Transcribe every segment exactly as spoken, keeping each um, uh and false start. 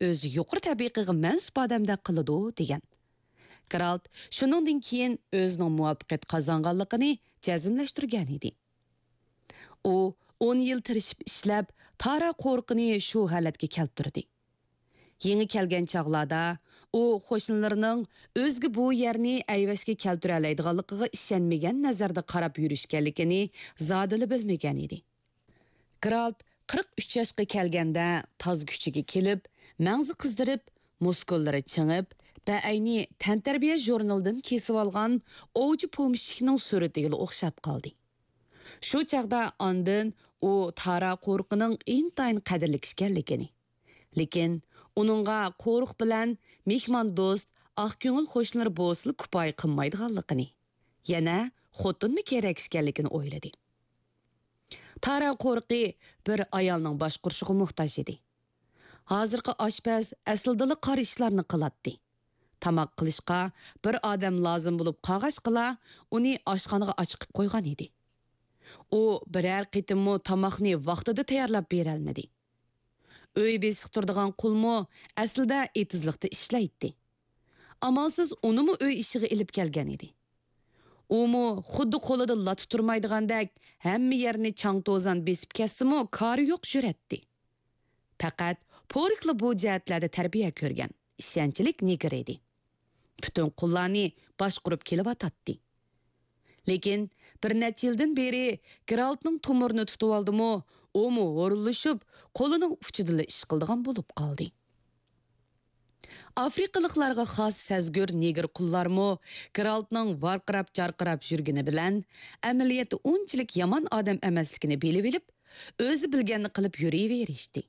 ئۆزى يۇقىرى تەبىقىگە مەنسۇپ ئادەمدەك قىلىدۇ، دېگەن. گېرالت شۇنىڭدىن كېيىن ئۆزىنىڭ مۇۋەپپەقىيەت قازانغانلىقىنى جەزملەشتۈرگەن ئىدى. ئۇ ئون يىل تىرىشىپ ئىشلەپ، تارا قورۇقىنى شۇ ھالەتكە كەلتۈردى. يېڭى كەلگەن چاغلاردا ئۇ قوشنىلىرىنىڭ ئۆزىگە بۇ يەرنى ئەيۋەشكە كەلتۈرەلەيدىغانلىقىغا ئىشەنمىگەن نەزەردە قاراپ يۈرۈشكەنلىكىنى زادىلا بىلمىگەن ئىدى. گېرالت قىرىق ئۈچ ياشقا كەلگەندە تاز كۈچىگە كېلىپ، مەڭزى قىزىرىپ، مۇسكۇللىرى چىڭىپ، بەئەينى تەنتەربىيە ژۇرنىلىدىن كېسىۋالغان ئوۋچى پومېشچىكنىڭ سۈرىتىگىلا ئوخشاپ قالدى. شۇ چاغدا ئاندىن ئۇ تارا قورۇقىنىڭ ئىنتايىن قەدىرلىك ئىكەنلىكىنى، لېكىن ئۇنىڭغا قورۇق بىلەن مېھماندوست، ئاق كۆڭۈل قوشنىلىرى بولسىلا كۇپايە قىلمايدىغانلىقىنى، يەنە خوتۇنمۇ كېرەك ئىكەنلىكىنى ئويلىدى. تارا قورۇقى بىر ئايالنىڭ باشقۇرۇشىغا موھتاج ئىدى. ھازىرقى ئاشپەز ئەسلىدىلا قارا ئىشلارنى قىلاتتى. تاماق قىلىشقا بىر ئادەم لازىم بولۇپ قالغاچقىلا، ئۇنى ئاشخانىغا ئاچىقىپ قويغان ئىدى. ئۇ بىرەر قېتىممۇ تاماقنى ۋاقتىدا تەييارلاپ بېرەلمىدى. ئۆي بېسىق تۇرىدىغان قۇلمۇ ئەسلىدە ئېتىزلىقتا ئىشلەيتتى. ئامالسىز ئۇنىمۇ ئۆي ئىشىغا ئېلىپ كەلگەن ئىدى. ئۇمۇ خۇددى قولىدا لاتا تۇرمايدىغاندەك ھەممە يەرنى چاڭ-توزان بېسىپ كەتسىمۇ كارى يوق يۈرەتتى. پەقەت پوركلا بۇ جەھەتلەردە تەربىيە كۆرگەن، ئىشەنچلىك نېگىر ئىدى. پۈتۈن قۇللارنى باشقۇرۇپ كېلىۋاتاتتى. لېكىن بىر نەچچە يىلدىن بېرى گېرالتنىڭ تومۇرىنى تۇتۇۋالدىمۇ، ئۇمۇ ھورۇنلىشىپ، قولىنىڭ ئۇچىدىلا ئىش قىلىدىغان بولۇپ قالدى. ئافرىقىلىقلارغا خاس سەزگۈر نېگىر قۇللارمۇ گېرالتنىڭ ۋارقىراپ-جارقىراپ يۈرگىنى بىلەن، ئەمەلىيەتتە ئۇنچىلىك يامان ئادەم ئەمەسلىكىنى بىلىۋېلىپ، ئۆزى بىلگەننى قىلىپ يۈرۈۋېرىشتى.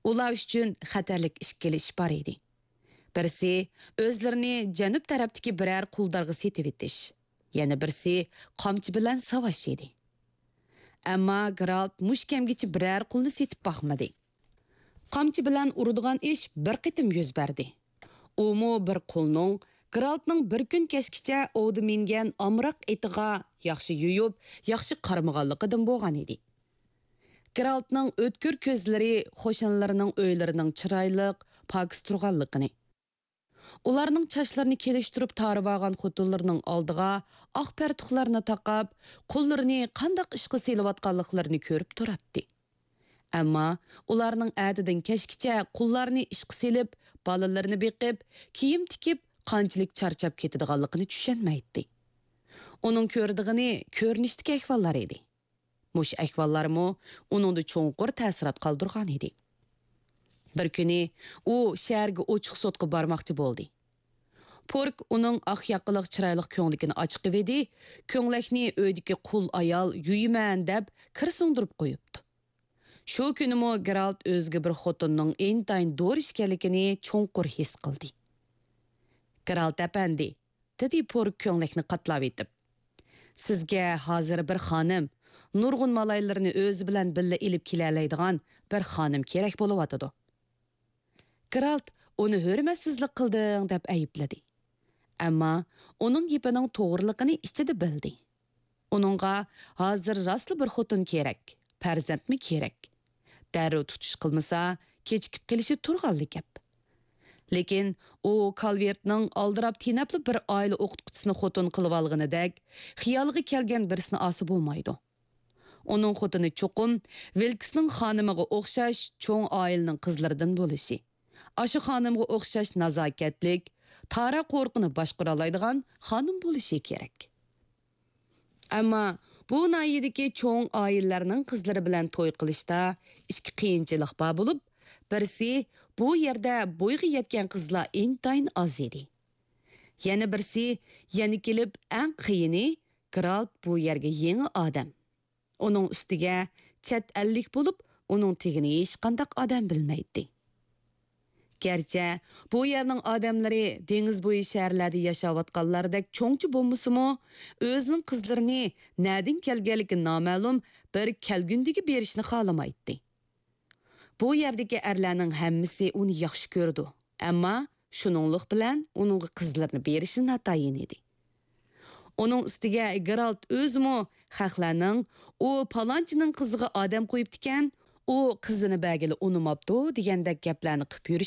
ئۇلار ئۈچۈن خەتەرلىك ئىككىلا ئىش بار ئىدى. بىرسى، ئۆزلىرىنى جەنۇب تەرەپتىكى بىرەر قۇلدارغا سېتىۋېتىش، يەنە بىرسى، قامچا بىلەن ساۋاش ئىدى. ئەمما گېرالت مۇشۇ كەمگىچە بىرەر قۇلنى سېتىپ باقمىدى. قامچا بىلەن ئۇرىدىغان ئىش بىر قېتىم يۈز بەردى. ئۇمۇ بىر قۇلنىڭ گېرالتنىڭ بىر كۈن كەچكىچە ئوۋدا مىنگەن ئامراق ئېتىغا ياخشى يۇيۇپ، ياخشى قارىمىغانلىقىدىن بولغان ئىدى. گېرالتنىڭ ئۆتكۈر كۆزلىرى قوشنىلىرىنىڭ ئۆيلىرىنىڭ چىرايلىق، پاكىز تۇرغانلىقىنى، ئۇلارنىڭ چاچلىرىنى كېلىشتۈرۈپ تارىۋالغان خوتۇنلىرىنىڭ ئالدىغا ئاق پەرتۇقلارنى تاقاپ، قۇللىرىنى قانداق ئىشقا سېلىۋاتقانلىقلىرىنى كۆرۈپ تۇراتتى. ئەمما ئۇلارنىڭ ئەتىدىن كەچكىچە قۇللارنى ئىشقا سېلىپ، بالىلىرىنى بېقىپ، كىيىم تىكىپ، قانچىلىك چارچاپ كېتىدىغانلىقىنى چۈشەنمەيتتى. ئۇنىڭ كۆرىدىغىنى كۆرۈنۈشتىكى ئەھۋاللار ئىدى. مۇشۇ ئەھۋاللارمۇ ئۇنىڭدا چوڭقۇر تەسىرات قالدۇرغان ئىدى. بىر كۈنى ئۇ شەھەرگە ئوچۇق سوتقا بارماقچى بولدى. پورك ئۇنىڭ ئاق ياقىلىق چىرايلىق كۆڭلىكىنى ئاچىقىۋىدى، كۆڭلەكنى ئۆيدىكى قۇل ئايال يۇيىمەن دەپ كىر سىڭدۈرۈپ قويۇپتۇ. شۇ كۈنىمۇ گېرالت ئۆزىگە بىر خوتۇننىڭ ئىنتايىن دورا ئىكەنلىكىنى چوڭقۇر ھېس قىلدى. گېرالت ئەپەندى، دېدى پورك كۆڭلەكنى قاتلاۋېتىپ. سىزگە ھازىر بىر خانىم، نۇرغۇن مالايلىرىنى ئۆزى بىلەن بىللە ئېلىپ كېلەلەيدىغان بىر خانىم كېرەك بولۇۋاتىدۇ. گېرالت ئۇنى ھۆرمەتسىزلىك قىلدىڭ دەپ ئەيىبلىدى. ئەمما ئۇنىڭ گېپىنىڭ توغرىلىقىنى ئىچىدە بىلدى. ئۇنىڭغا ھازىر راستلا بىر خوتۇن كېرەك، پەرزەنتمۇ كېرەك. دەررۇ تۇتۇش قىلمىسا، كېچىكىپ قېلىشى تۇرغانلا گەپ. لېكىن ئۇ كالۋېرتنىڭ ئالدىراپ تېنەپلا بىر ئائىلە ئوقۇتقۇچىسىنى خوتۇن قىلىۋالغىنىدەك، خىيالىغا كەلگەن بىرسىنى ئالسا بولمايدۇ. ئۇنىڭ خوتۇنى چوقۇم ۋىلكسنىڭ خانىمىغا ئوخشاش چوڭ ئائىلىنىڭ قىزلىرىدىن بولۇشى، ئاشۇ خانىمغا ئوخشاش نازاكەتلىك، تارا قورۇقىنى باشقۇرالايدىغان خانىم بولۇشى كېرەك. ئەمما بۇ ناھىيەدىكى چوڭ ئائىلىلەرنىڭ قىزلىرى بىلەن توي قىلىشتا ئىككى قىيىنچىلىق بار بولۇپ، بىرسى، بۇ يەردە بويغا يەتكەن قىزلار ئىنتايىن ئاز ئىدى. يەنە بىرسى، يەنە كېلىپ ئەڭ قىيىنى، گېرالت بۇ يەرگە يېڭى ئادەم. ئۇنىڭ ئۈستىگە چەت ئەللىك بولۇپ، ئۇنىڭ تېگىنى ھېچقانداق ئادەم بىلمەيتتى. گەرچە بۇ يەرنىڭ ئادەملىرى دېڭىز بويى شەھەرلەردە ياشاۋاتقانلاردەك چوڭچە بولمىسىمۇ، ئۆزىنىڭ قىزلىرىنى نەدىن كەلگەنلىكى نامەلۇم بىر كەلگۈندىگە بېرىشنى خالىمايتتى. بۇ يەردىكى ئەرلەرنىڭ ھەممىسى ئۇنى ياخشى كۆرىدۇ، ئەمما شۇنىڭلىق بىلەن ئۇنىڭغا قىزلىرىنى بېرىشى ناتايىن ئىدى. ئۇنىڭ ئۈستىگە گېرالت ئۆزىمۇ خەقلەرنىڭ «ئۇ پالانچىنىڭ قىزىغا ئادەم قويۇپتىكەن، ئۇ قىزىنى بەرگىلى ئۇنىماپتۇ» دېگەندەك گەپلەرنى قىپ يۈرۈش